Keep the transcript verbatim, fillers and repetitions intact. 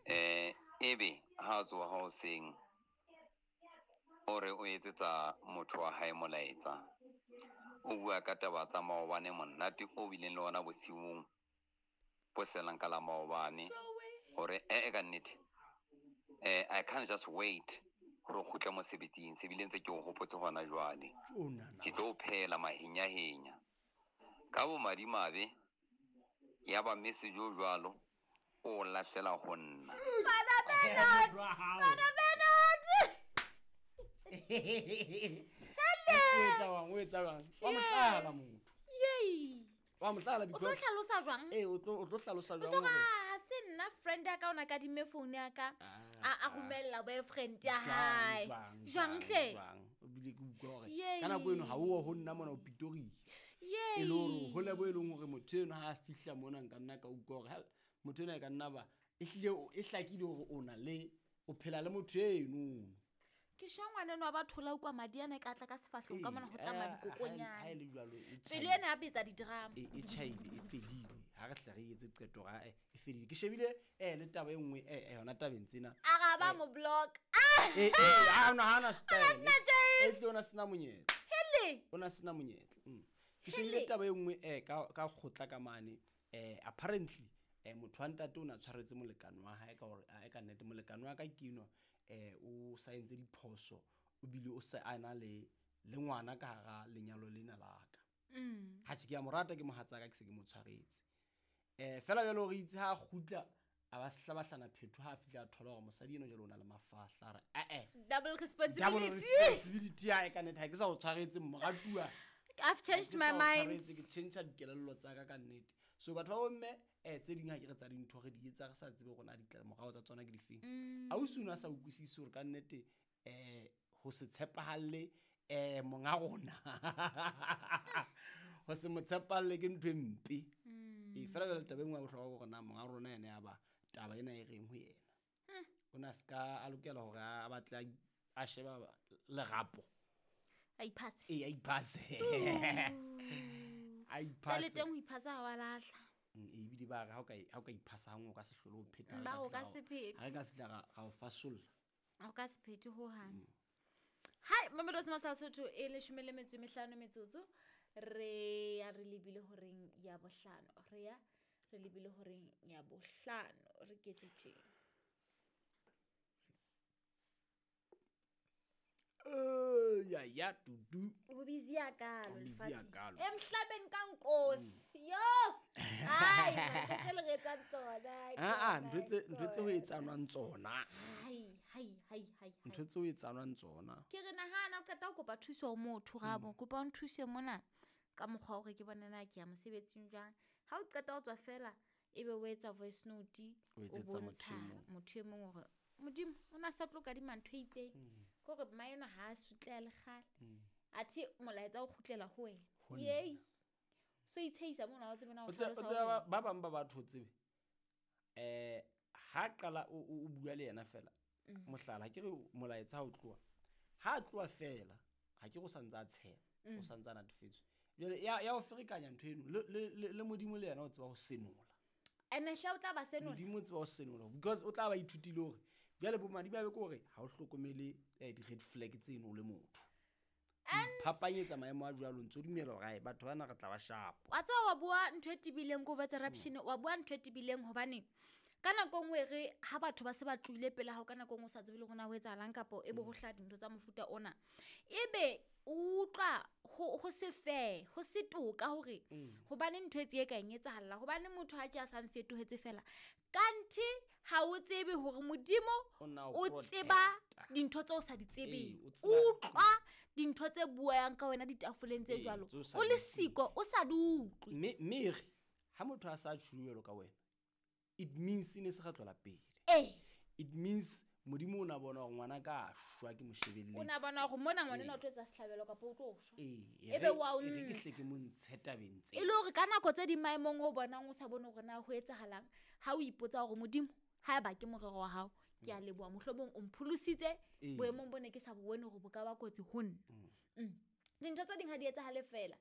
Eh ebe ha tsoha hoseng o re o etsetsa motho wa hae molaetsa. O bua ka taba tsa maobane monate o bileng le ona bosiung bo selang ka la maobane hore eh ka nnete eh I can't just wait hore o kgutle mosebetsing se bile ntse ke o hopotse hona jwale. Ke tlo phela mahenyahenya ka bo madimabe ya ba message o jwalo o lahlela ho nna. Father Bernard, Father Bernard. O etsa wang, o etsa wang. Wa mohlala motho. Yey. Wa mohlala because o tlo hlalosa jwang? Eh o tlo o tlo hlalosa jwang? O soka se nna friend ya ka ona ka dime phone ya ka a a romella boyfriend ya hae. Jwang hle? O bile ke utlwa hore ka nako eno ha o ho nna mona o Pretoria. Yey. E le hore ho lebo e leng hore motho eno ha a fihla mona nka nna ka utlwa hore motho ena e ka nna ba e hlile e hlakile hore o na le o phela le motho eno. Ke shwa ngwana eno ba thola kwa madi ana ka tla ka sefahlong ka mona ho tsamaya dikokonyana. Ha ile jwalo e pele ena ya betsa di-drama. E e chaile e fedile. Ha re hle re etse qeto ra e fedile. Ke shebile eh le taba e nngwe eh yona tabeng tsena. A ga ba mo block. Eh eh ha ona ha ona style. E tle ona sena monyetla. Hele. Ona sena monyetla. Ke shebile taba e nngwe eh ka ka kgotla ka mane eh apparently eh motho wa ntate o na tshwaretse molekane wa hae ka hore a ka nnete molekane wa ka ke eno eh o saentse diphoso o bile o se ana le le ngwana ka hara lenyalo lena la ka. Mm. Ha ke ya morata ke mohatsa ka ke se ke mo tshwaretse. Eh fela jalo re itse ha kgutla a ba hlabahlana phetho ha fihla a thola hore mosadi eno jalo o na le mafahla re eh eh double responsibility. Double responsibility ya ka nnete ha ke sa o tshwaretse moratuwa. I've changed my mind. Ke change dikelello tsa ka ka nnete. So batho ba bomme eh tse ding ha ke re tsa dintho re di etsa re sa tsebe rona ditlamorao tsa tsona ke difeng. Ausi o na sa utlwisise hore ka nnete eh ho se tshepahalle eh monga rona. Ho se mo tshepahalle ke ntho e mpe. E fela jwale taba e nngwe ya bohlokwa ke hore na monga rona yena ya ba taba ena e reng ho yena. O na ska a lokela hore a batle a sheba lerapo. A iphase. E a iphase. A iphase. Tsele teng ho iphasa ha wa lahla. E bile ba re ha o ka ha o ka iphasa hangwe o ka se hlole o pheta. Ba o ka se phete. Ha re ka fihla ra o fasolla. O ka se phete ho hang. Hai Mamelodi Sesotho e leshome le metso e mehlano metsotso re ya re lebile horeng ya bohlano. Re ya re lebile horeng ya bohlano re ketse tje. Eh ya ya dudu. O busy ya kalo. O busy ya kalo. Emhlabeni ka Nkosi. Yo. Hai, ntho le re etsang tsona. Ah ah, ntho tse ntho tse ho etsanwang tsona. Hai, hai, hai, hai. Ntho tse ho etsanwang tsona. Ke re nahana o qeta ho kopa thuso ho motho rabo, kopa o nthuse mona ka mokgwa hore ke bone na ke ya mosebetsing jwang. Ha o qeta ho tswa fela ebe o etsa voice note o etsetsa motho motho e mong hore Modimo o na sa tlo kadima ntho e itseng. Ke hore maeno ha a sutleha le kgale. Athe molaetsa o kgutlela ho wena. Yey. So itsheisa mona o tsebe na o hlalosa. Ba bang ba batho tsebe. Eh ha qala o bua le yena fela. Mohlala ke re molaetsa ha o tloha. Ha tloha fela, ha ke go santsa a tshepa, o santsa a natefetswe. Jwale ya ya o ferekanya ntho eno le le Modimo le yena o tseba ho senola. Ene hla o tla ba senola. Modimo o tseba ho senola because o tla ba ithutile hore jwale bo madi ba be ke hore ha o hlokomele eh di red flag tseno le motho. Phapanyetsa maemo a jwalo ntso dumela hore batho bana re tla ba sharp. Wa tseba wa bua ntho e tibileng ko vetsa raption wa bua ntho e tibileng hobane ka nako nngwe re ha batho ba se ba tlohile pele ha o ka nako nngwe o sa tsebe le hore na ho etsahalang kapa e bo ho hla dintho tsa mofuta ona. Ebe o utlwa ho ho se fair, ho se toka hore hobane ntho e tse ka eng etsahalla hobane motho ha ke a sa mfetohetse fela. Kanti ha o tsebe hore Modimo o tseba dintho tse o sa di tsebeng. Utlwa dintho tse buang ka wena ditafoleng tse jwalo. O le siko o sa di utlwe. Mme mme ha motho a sa tjhuelo ka wena it means ine se kgatlola pele. Eh. It means Modimo o na bona hore ngwana ka shwa ke moshebelletse. O na bona hore mona ngwana ena o tlo etsa sehlabelo kapa o tlo shwa. Eh. Ebe wa o re ke hle ke mo ntshe tabeng tse. E le hore ka nako tse di maemong o bonang o sa bone hore na ho etsahalang ha o ipotsa hore Modimo ha ba ke morero wa hao ke a leboha mohlomong o mpholositse boemong bone ke sa bone hore bo ka ba kotsi ho nna. Mm. Dintho tse ding ha di etsahale fela.